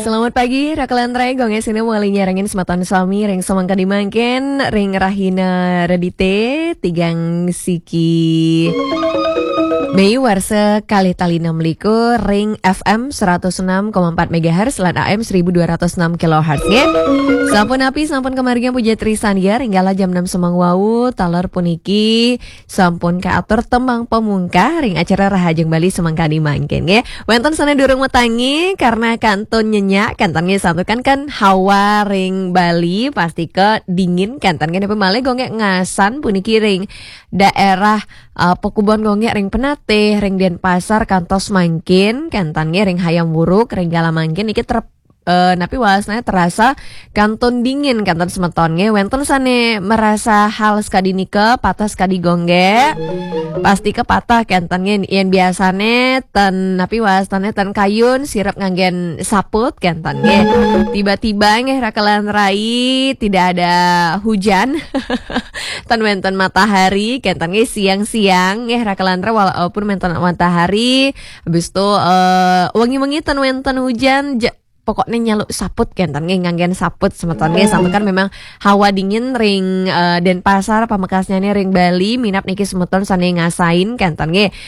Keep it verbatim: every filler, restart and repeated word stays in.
Selamat pagi, Raka lan Rai, Gung Ais sini mawali nyarengin semeton sami ring semeng kadi mangkin, ring rahina Redite, tigang siki Mei warsa kalih tali enam likur, ring F M seratus enam koma empat megahertz lan A M seribu dua ratus enam kilohertz, nggih. Sampun napi, sampun kamargiang puja trisandia, ring kala jam enam semeng wau, taler puniki sampun kaatur tembang pamungkah ring acara Rahajeng Bali semeng kadi mangkin, nggih. Wenten sane durung matangi karena kantun nyenyak, kenten nggih, santukan kan hawa ring Bali pastika dingin, kenten nggih, napi malih Gung Ais ngasan puniki ring daerah, eh, pakubon Gung Ais ring Penatih, ring Denpasar kantos mangkin, kenten nggih, ring Hayam Wuruk, ring kala mangkin niki ter-, eh, napi wasane terasa kantun dingin, kenten semeton nggih. Wenten sane merasa hal sekadi nika, patah sekadi Gung Ais. Pastika patah, kenten nggih. Yen biasane ten napi wasane ten kayun, sirep nganggen saput, kenten nggih. Tiba-tiba nggih, Raka lan Rai, tidak ada hujan. Ten wenten matahari, kenten nggih, siang-siang nggih, Raka lan Rai, walaupun wenten matahari, habis itu, eh, wengi-wengi ten wenten hujan, ja-, pokoknya nyaluk saput, kenten nggih, nganggen saput semeton nggih, santukan memang hawa dingin ring, eh, Denpasar, pamekasnyane ring Bali, minab niki semeton sane ngasain, kenten nggih.